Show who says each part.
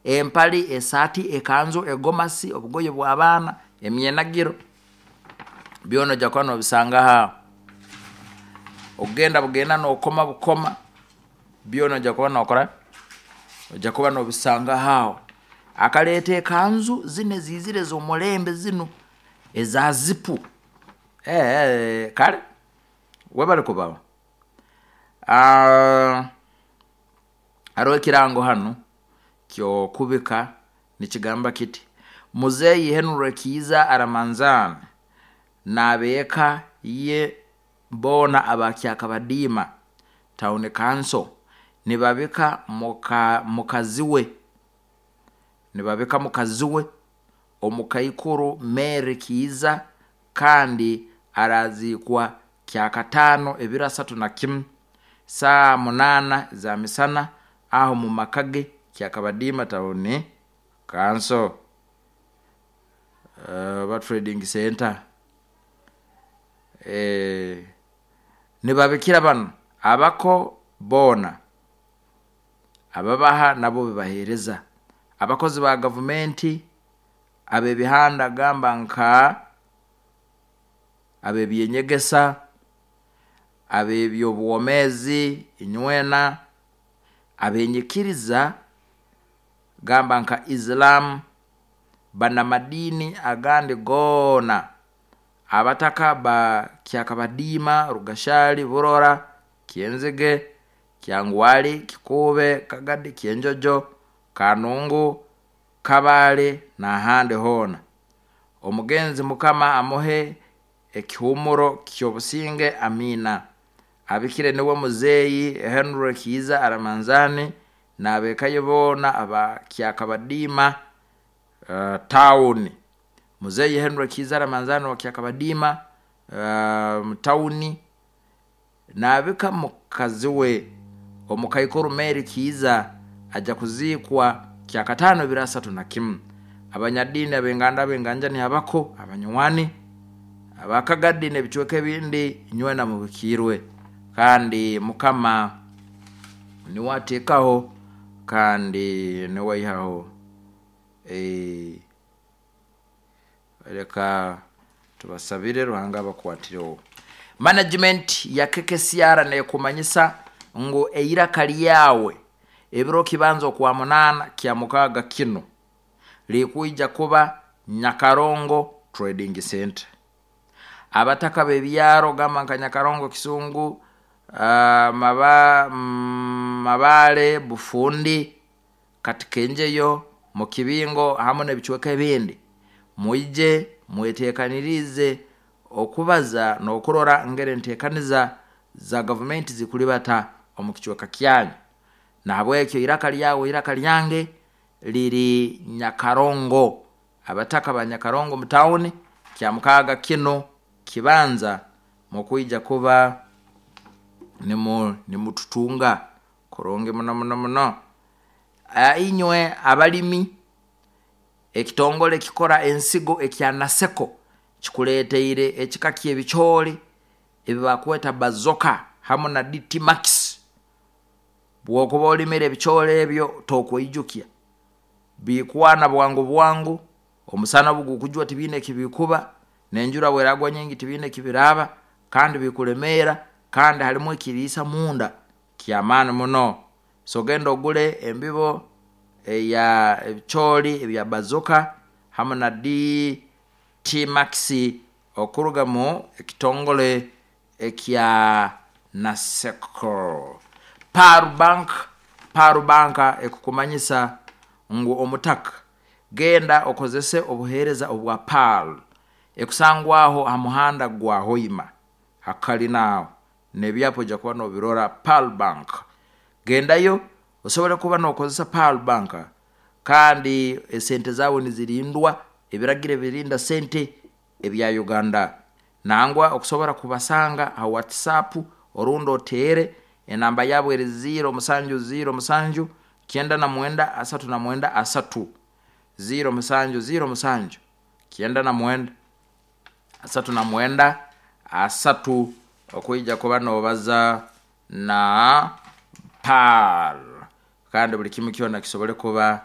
Speaker 1: Empali, esaati, ekanzu, egomasi, obugoye bw'abaana, emyenagiro, byona ojja kuba nobisangaho aho. Okugenda bugenda nokoma bukoma, byona ojja kuba nokora, ojja kuba nobisangaho aho. Akaleeta ekanzu zinu eziizire ez'omulembe zinu eza zipu, kale webale kubaho. Haroho ekirango hanu ky'okubika nikigamba kiti: Muzeeyi Henry Kiiza Aramanzani n'abeeka ye boona aba Kyakabadiima Town Council nibabika mukazi we, nibabika mukazi we omukaikuru Mary Kiiza, kandi araziikwa Kyakataano ebiro 31 saaha 8 za misana aho mu maka ge Kyakabadiima Town Council oba Trading Center. Nibabikira banu abako boona ababaha nabo bibaheereza, abakozi ba gavumenti, ab'ebihanda, gamba nka ab'ebyenyegesa, ab'eby'obwomeezi inywena, ab'enyikiriza gamba nka Islam, banamadiini agandi goona, abataka ba Kyakabadiima, Rugashali, Burora, Kyenzige, Kyangwali, Kikuube, Kagadi, Kyenjojo, Kanungu, Kabale n'ahandi hoona. Omugenzi Mukama amuhe ekihumuro ky'obusinge, amiina. Abikire niwe Muzeeyi Henry Kiiza Aramanzani n'abeeka ye boona aba Kyakabadiima Town. Muzeeyi Henry Kiiza Aramanzani wa Kyakabadiima mu tawuni naabika mukazi we omukaikuru Mary Kiiza, aja kuziikwa Kyakataano ebiro 31. Abanyadiini, ab'enganda, ab'enganjani, abako, abanywani, abakagadi n'ebicweka ebindi, inywena mubikiirwe. Kandi Mukama niwe ateekaho kandi niwe aihaho. Leka tubasabire Ruhanga abakwatireho. Management ya KKCR nekumanyisa ngu eiraka lyawe ebiro kibanza okwa munaana kya mukaaga kinu likwija kuba Nyakarongo Trading Center. Abataka b'ebyaro gamba nka Nyakarongo, Kisungu, Mabale, Bufundi, Katikenjeyo, Mukibingo hamu n'ebicweka ebindi, mwije mweteekaniriize okubaza n'okurora ngeri enteekaniza za gavumenti zikulibata omu kicweka kyanyu. Nahabwekyo iraka lyawe, iraka lyange liri Nyakarongo. Abataka ba Nyakarongo mu tawuni Kyamukaaga kinu kibanza mukwija kuba nimututunga kurungi muno muno muno. Inywe abalimi, ekitongole ekikora ensigo ekya Naseko kikuleeteire ekika ky'ebicooli ebi bakweta Bazoka hamu na DT Max. Bw'okuba olimire ebicooli ebyo tokweijukya, bikwana bwangu bwangu, omusana obu gukujwa tibiine ekibikuba, n'enjura bweragwa nyingi tibiine ekibiraaba, kandi bikulemeera, kandi harimu ekiriisa munda ky'amaani muno. So genda ogule embibo eya ebicooli ebya Bazoka hamu na DT Max okuruga mu ekitongole ekya Naseko. Pearl Bank, Pearl Bank ekukumanyisa ngu omutaka genda okozese obuheereza obwa Pearl ekusangwaho ha muhanda gwa Hoima hakalina aho n'ebyapa ojja kuba nobirora. Pearl Bank, gendayo osobole kuba nokozesa Pearl Bank, kandi esente zaawe nizirindwa ebiragiro ebirinda sente ebya Uganda. Nangwa okusobora kubasanga ha WhatsApp orundi oteere enamba yabo eri 0707 99 33 0707 99 33 okwija kuba nobaza na Pearl, kandi buli kimu kyona kisobole kuba.